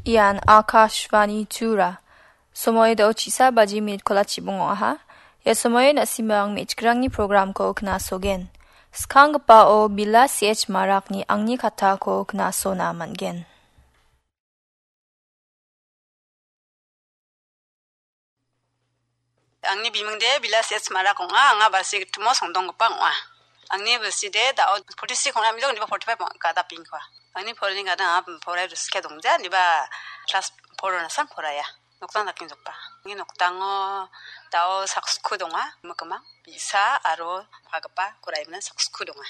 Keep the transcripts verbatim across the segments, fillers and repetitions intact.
Ian Akashvani Tura. Somoy dao chisa baji minit kola chibong ong·aha. Ia somoy na·simang me·chikrangni programko knasogen. Skanggipao Bila C H Marakni angni katako knasona man·gen. Angni bimingde Bila C H Marak ong·a, anga Balsi gitimo songdonggipa ong·a. Angni bilside dao forty-six ong·a, midok niba forty-five ong·a, gada pingkua. Angni porani gada anga porai riskia dongja, niba class four nasan poraya. Noktang dakenggipa. Angni noktango dao sakskku donga, mikimang, bi·sa aro pagipa koraimna sakskku donga.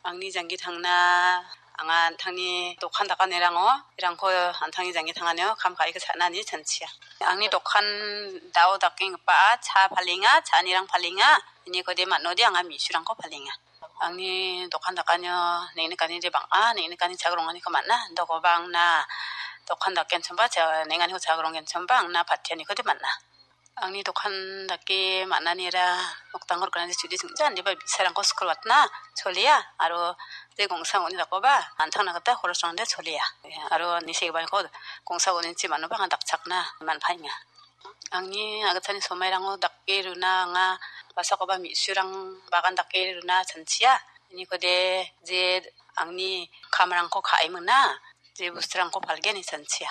Angni janggi tangna, anga an·tangni dokan dakanirango, irangko an·tangni janggi tanganio kam ka·iko cha·nani chanchia. Angni dokan dao dakenggipa cha palenga, cha·anirang palenga, inikode man·ode anga me·surangko palenga. Angni dokan dakanio neng·nikani de bang·a, neng·nikani chagironganiko man·a, dokoba angna dokan dakenchimba, cha-, neng·aniko chagironggenchimba angna patianiko de man·a. Angni dokan dake man·anira noktangko riknani chudi singja, indiba bi·sarangko skul watna cholia, aro de gongsa ong·ni dakoba an·tangna gita horosrangde cholia. Aro nisegiparangko gongsa ong·nichi man·oba anga dakchakna man·paenga. Angni agitani somairango dake runa anga basakoba me·surang bagan dake runa chanchia. Inikode je angni kamrangko ka·e mingna, je bosturangko palgen ine chanchia.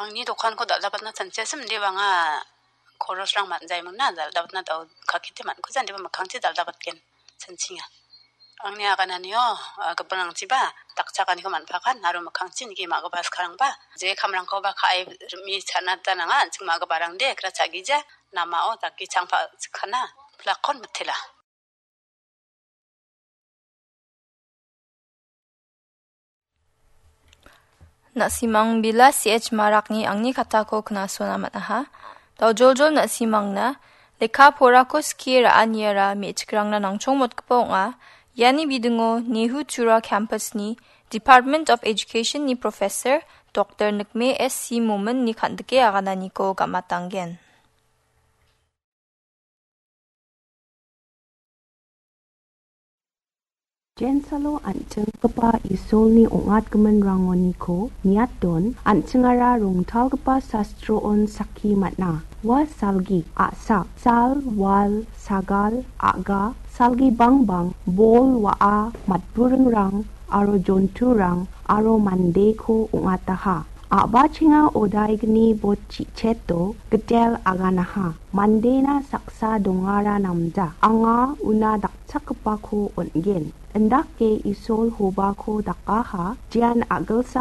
Angni dokanko dal·dabatna chanchiasim, indiba anga korosrang man·jaimingna, dal·dabatna dao kakete man·kuja, indiba mikkangchi dal·dabatgen chanchinga. Angni agananio, ah, gipinrangchiba dakchakaniko man·pakan aro mikkangchi nike ma·gipa skarangba je kamrangkoba ka·e rimi chanata nanga, an·ching ma·giparangde kra cha·gija, namao dake changpa chikkana, plakkon mitela. Na·simang Bila C H Marakni angni katako knasona man·aha. Daojoljol na·simangna lekka porako skie ra·aniara me·chikrangna nangchongmotgipa ong·a. Iani bidingo Nehu Tura Campus-ni Department of Education-ni Professor Doktor Nikme S C Momin-ni kan·dike agananiko gam·atanggen. Jensalo an·chinggipa Isolni ong·atgiminrangoniko niaton, an·chingara rongtalgipa sastroon sakki man·a. Ua salgi, a·sa, sal, wal, sagal, a·ga, salgi bangbang, bol, wa·a, matburingrang, aro jonturang, aro mandeko ong·ataha. A·bachenga odaigni bot chi·cheto gitel aganaha. Mandena saksa dongara namja. Anga una dakchakgipako on·gen. Indake Isol hobako dakaha, jean a·gilsa